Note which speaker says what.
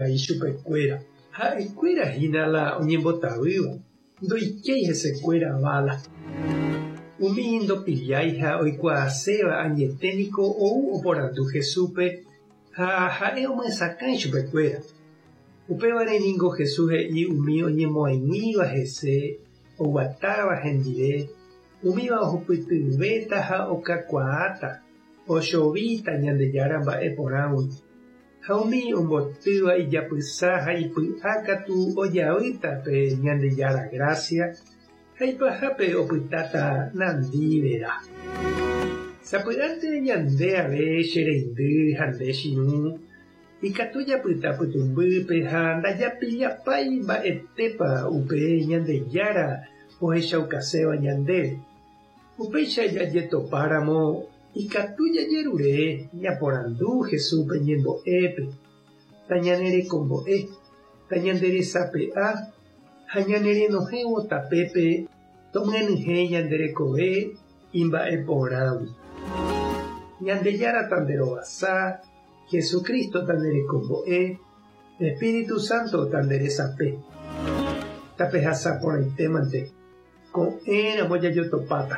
Speaker 1: Ichupekuéra. Ha'ekuéra hína la oñembotavýva, ndoikéi hesekuéra vála. Umi ndopillái ha oikuaaséva añete niko ou oporandu Jesúspe ha ha'e omyesakã ichupekuéra. Upévare ningo Jesús he'i umi oñemoaiguĩva hese, oguatáva hendive, umíva ohupytyvéta ha okakuaáta, ochovíta Ñandejára mba'e porãgui. Ha umi ombotýva ijapysa ha ipy'a katu ojavýta pe Ñandejára grásia ha ipahápe opytáta nandi vera. Sapy'ánte ñande ave che reindy ha nde chirũ, ikatu japyta pytũmbýpe ha ndajapillapái mba'etépa upe Ñandejára ohechaukaséva ñandéve. Upéicha jajetopáramo ikatu jajerure ñaporandu Jesúspe ñembo'épe, tañanerekombo'e, tañanderesape'a ha ñanerenohẽvo tapépe tomyenyhẽ ñande rekove imba'eporãgui. Ñandejára tanderovasa, Jesucristo tanderekombo'e, Espíritu Santo tanderesape. Tapehasa porãitémante. Ko'ẽramo jajotopáta.